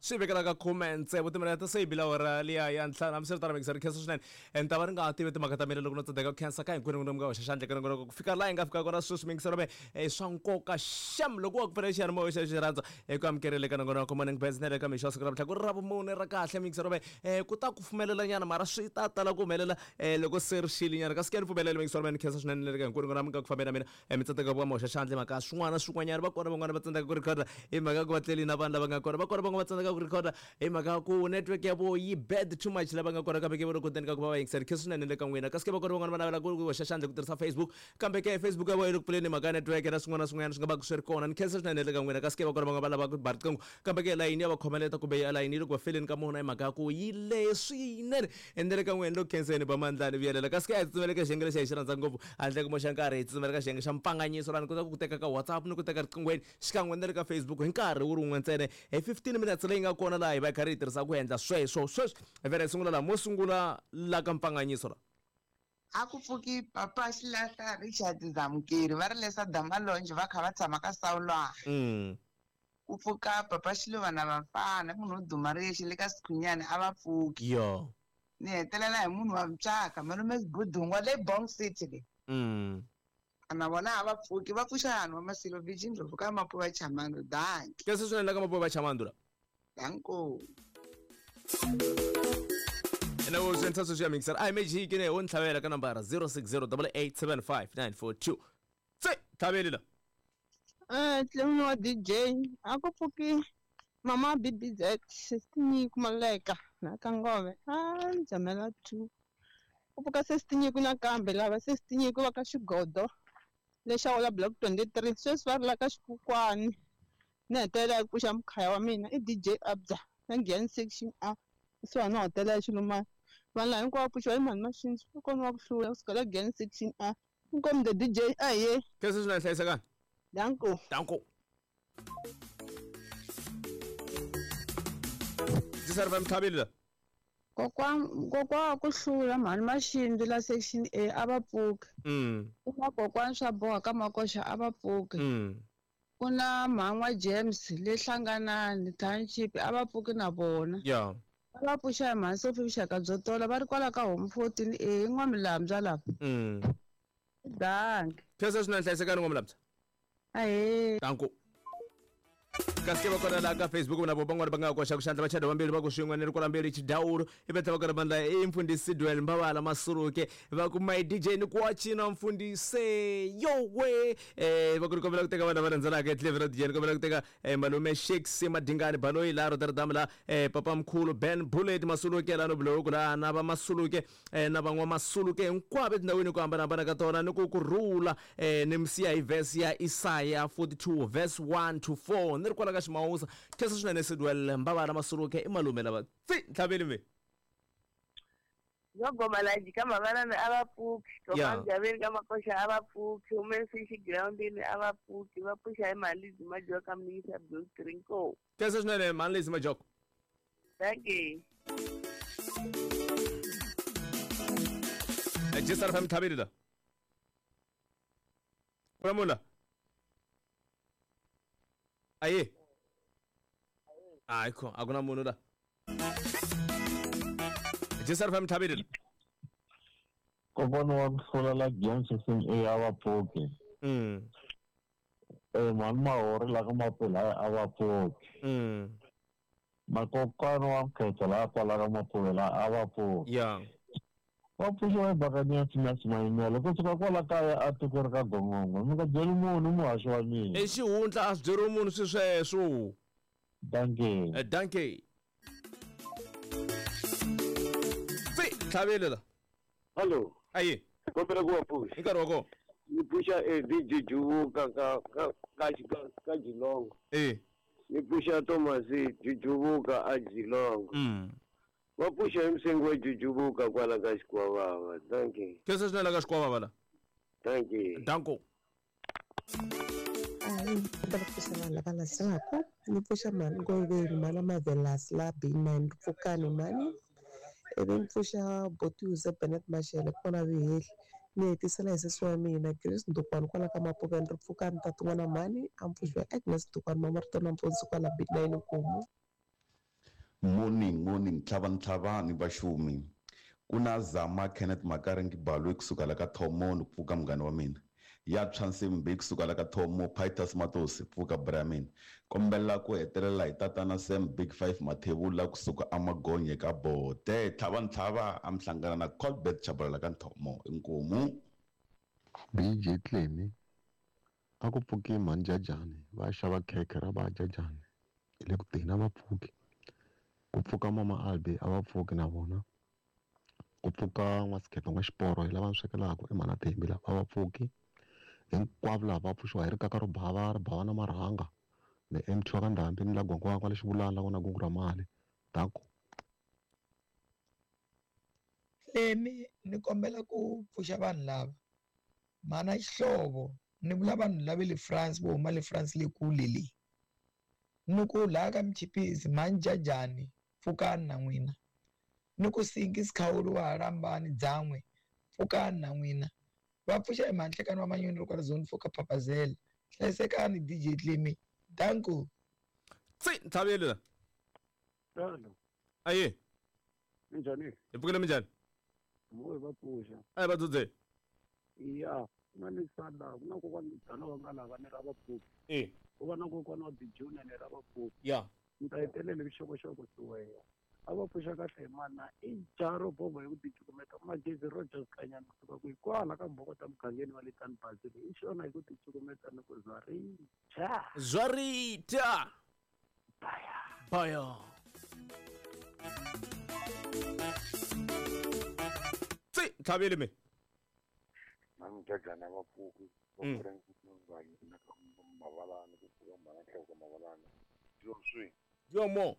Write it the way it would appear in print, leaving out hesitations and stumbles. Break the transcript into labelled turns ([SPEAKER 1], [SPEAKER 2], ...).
[SPEAKER 1] Swi vekela ka khume tsevu timinete se yi bile awara liya ya ntlhanu. Hambiswiritano mixer khensa swinene. Ni ta va ni nga ha tivi timhaka ta mina loko no tsandzeka ku khensa ka hinkwenu n'wina mi nga hoxa xandla eka nongonoko ku fika laha hi nga fika kona sweswi mixer me i swa nkoka xem loko wa ku pfuna xiyanimoya xa xi rhandza eku amukelele ka nongonoko Morning Buzz na le ka mixo wa siku ra namuntlha ku ri Ravumune ra kahle mixer me ku ta kufumelela nyana mara swi ta tala ku humelela loko se ri xile nyana kasi ke ni pfumelele mixer me ni khensa swinene na le ka hinkwenu n'wina mi nga ku fambeni na mina Mi tsandzeka ku va mi hoxa xandla hi mhaka swin'wana na swin'wanyana. Va kona van'wana va tsandzeka ku rhikhoda hi mhaka ya ku va tleli na vanhu lava nga kona. Va kona van'wana va tsandzeka ku rhikhoda hi mhaka ya ku network ya vona yi bad too much lava nga kona kambe ke va le koteni ka ku va va yingisela. Khensa swinene le ka n'wina. Kasi ke va kona van'wana va navela ku hoxa xandla hi ku tirhisa Facebook kambe ke Facebook ya vona yi le ku pfuleni hi mhaka ya network na swin'wana na swin'wanyana swi nga va ku swi ri kona. Ni khensa swinene le ka n'wina. Kasi ke va kona van'wana va lava ku ba riqingho kambe ke layini ya va khomeleta kumbe layini yi le ku va feleni ka mona hi mhaka ya ku yi lehe swinene. Ende le ka n'wina ni le ku khenseni ba mandla ni vuyelela. Kasi ke a hi tsutsumela eka xiyenge lexi a hi xi rhandza ngopfu handle ko moxa nkarhi, hi tsutsumela ka xiyenge xa mpfanganyiso laha ni kotaka ku teka ka WhatsApp ni ku teka riqinghweni xikan'we na le ka Facebook hi nkarhi wu ri wun'we ntsena hi 15 minutes leyi nga kona laha hi va hi karhi hi tirhisa ku endla sweswo. Sweswi hi vhela hi sungula laha mo sungula la ka mpfanganyiso la.
[SPEAKER 2] A ku pfuki Papa Xilahla Richard Zamukeri va ri lesa Damalonje va kha va tshama ka Sawulwana. Ku pfuka Papa Xiluva na Vafana munhu wo duma ri yexe le ka Sikhunyani a va pfuki.
[SPEAKER 1] Yo.
[SPEAKER 2] Ni hetelela hi munhu wa mutswaka malume Sibudungwa le Bong City le. Na vona a va pfuki va pfuxa vanhu va Masilo Virgin Ndlovu ka Mapuva Chamando. Dankie.
[SPEAKER 1] Khensa swinene la ka Mapuva Chamando la.
[SPEAKER 2] Danko.
[SPEAKER 1] Ene wo swi endla sweswi ya mixer a hi magic ne wo ni tlhavela ka nambara 0608875942 se tlhaveli la.
[SPEAKER 3] Clemmy wa DJ a ku pfuki mama BBZ sesi Nyiko Maleka na ka Ngove a ni jamela 2 ku pfuka sesi Nyiko nakambe lava sesi Nyiko va ka Xigodo lexa wala block 23 sweswi va ri la ka Xikukwani ni hetelela hi ku pfuxa mukhaya wa mina i DJ Abza na Giyani section A kusuhani na hotela ya Xilumani vanhu lava hinkwavo pfuxiwa i mhani Mashinji i kona wa ku hlula kusuka la Giyani section A inkomu the DJ ahee
[SPEAKER 1] Khensa swinene hlayisekani.
[SPEAKER 3] Danko.
[SPEAKER 1] Danko. Ndzi sari va mtlhaveli la.
[SPEAKER 4] Kokwa kokwa wa ku hlula mhani Maxindzi la section A a va pfuki. Ku na kokwani swa boha ka Makoxa a va pfuki. Ku na mhan'wa James le Hlanganani Township a va pfuki na vona.
[SPEAKER 1] Yeah.
[SPEAKER 4] Va va pfuxa hi mhani Sophie vuxaka byo tola va ri kwala ka Home 14 A i N'wamilambya lava. Dankie.
[SPEAKER 1] Khensa swinene hlayisekani N'wamilambya.
[SPEAKER 4] Ahee.
[SPEAKER 1] Danko. Kasi ke va kona laha ka Facebook na vo van'wana va nga koxa ku xandla vachada vambirhi va ku swin'we ni ri kwala mbirhi chidawulu i va tlhela va kona vandla i mfundhisi Sidwell Mbavala Masuruke va ku my DJ ni ku wa cina mfundhisi yowe va ku ni kombela ku teka vanhu lava rhandzelaka eCleveland DJ ni kombela ku teka malume Shakes Madingani Baloyi laha Rotterdam la papa mkhulu Ben Bullet Masuluke laha Nobloku laha na va Masuluke na van'wa Masuluke hinkwavo etindhawini ku hambanahambana ka tona ni ku ku rhula ni mi siya hi verse ya Isaya 42 verse 1 to 4 ni ri kwala ka Ximawusa khensa swinene Sidwell Mbavala Masuluke i malume lava tsi ntlhaveli mi
[SPEAKER 5] Yo goma la jika mavanana a va pfuki
[SPEAKER 1] Yeah.
[SPEAKER 5] Gaveni ka makoxa a va pfuki hume fishi groundini a va pfuki va pfuxa hi mali majoka miyisa blue trinko
[SPEAKER 1] khensa swinene mhani Lizzy Majoko
[SPEAKER 5] thank you
[SPEAKER 1] Jesar FM tlhaveli la ku na munhu la aye hayi kho a ku na munhu la Jesar FM tlhaveli la
[SPEAKER 6] Kokwana wa ku hlula la James Singh A a va pfuki. Mhani Mahori la ka Mapula a va pfuki. Na kokwana wa Mkhetha la kwala ka Mapula a va pfuki.
[SPEAKER 1] Yeah.
[SPEAKER 6] Va pfuxiwa hi Buccaneers Max Mayimela kusuka kwala kaya a tikweni ka Gongongo. Mi nga byeli munhu muhaxi wa mina.
[SPEAKER 1] I xihundla a swi byeriwi munhu swi sweswo.
[SPEAKER 6] Dankie.
[SPEAKER 1] Dankie. Tsi tlhavele la.
[SPEAKER 7] Hello.
[SPEAKER 1] Aye.
[SPEAKER 7] Kombela ku va pfuxa.
[SPEAKER 1] Hi nkarhi wa kona.
[SPEAKER 7] Ni pfuxa Eddie Jujuvuka ka ka ka ka ka Jilongo. Ni pfuxa Thomas Jujuvuka a Jilongo. Va pfuxa hi msengi wa Jujuvuka kwala ka Xikwavava. Thank you.
[SPEAKER 1] Khensa swinene la ka Xikwavava la.
[SPEAKER 7] Thank you.
[SPEAKER 1] Danko.
[SPEAKER 8] Hayi, ni kombela ku pfuxa vanhu lava landzelaka. Ni pfuxa mhani Ngoveni, mhani Mavelasi la B9 Pfukani mhani. Ivi ni pfuxa Botiuse Bennett Mashele kona Vihehli. Ni hetisela hi sesi wa mina Grace Ndukwani kwala ka Mapuveni ri Pfukani tati n'wana mhani a ni pfuxiwa Agnes Ndukwani Mamarito nampundzu kwala B9 Nkomu.
[SPEAKER 9] Morning, morning, tlhavani tlhavani vaxumi. Ku na Zama Kenneth Makaringi Balwe kusuka la ka Thomo ni ku pfuka munghana wa mina. Ya Tshwansimbi kusuka la ka Thomo, Pitus Matosi pfuka bra mina. Kombela ku hetelela hi tatana Sam Big Five Mathebula kusuka amagonye ka Bote. Tlhavani tlhava a mi hlangana na Colbert Chabalala ka Thomo. Inkomu.
[SPEAKER 10] BJ Clemi a ku pfuki mhani Jajani va xava khekhe ra va Jajani hi le ku teni a va pfuki. Ku pfuka mama Albi a va pfuki na vona. Ku pfuka n'wasikhetho n'wa xiporo hi lava ni swekelaka i mhana Thembi lava a va pfuki. Hinkwavo lava va pfuxiwa hi rikaka ro bava ri bava na marhanga ni MT wa ka Ndhambi ni la Gwangwa kwale Xivulana la ku na gungu ra mali. Danko.
[SPEAKER 11] Clemi ni kombela ku pfuxa vanhu lava mhana Xihlovo ni vula vanhu lava le France vo huma le France le kule le ni ku laha ka Mchipisi mhani Jajani pfukani na n'wina ni ku Sinki Sikhawuli wa Halambani Dzan'we pfukani na n'wina va pfuxa hi mhanhlekani wa manyoni ri kwala zone 4 ka Papazela. Hlayisekani DJ Clemi. Danko.
[SPEAKER 1] Tsi ntlhaveli la.
[SPEAKER 7] Hello.
[SPEAKER 1] Aye.
[SPEAKER 7] Minjhani?
[SPEAKER 1] Hi pfukile minjhani?
[SPEAKER 7] Mo va pfuxa.
[SPEAKER 1] Aye va dzudze.
[SPEAKER 7] Ya, na ni sala ku na kokwana dala wa nga lava ni ra va pfuki.
[SPEAKER 1] Eh.
[SPEAKER 7] Ku va na kokwana wa Bijuna ni ra va pfuki.
[SPEAKER 1] Ya.
[SPEAKER 7] Ni ta hetelela vuxokoxoko siweya. A va pfuxa kahle hi mana i jaro bobo hi ku ticukumeta Magezi Rogers Kanyana kusuka ku hikwala ka Mbokota mugangeni wa le Tan Basile i xona hi ku ticukumeta ni ku zwarita.
[SPEAKER 1] Zwarita.
[SPEAKER 7] Baya.
[SPEAKER 1] Baya. Tsi ntlhaveli me.
[SPEAKER 6] Mani Jajana va pfuki va pfuka na ka mavalani ku pfuka mhana nhloko mavalani. Yo swi.
[SPEAKER 1] Yo mo.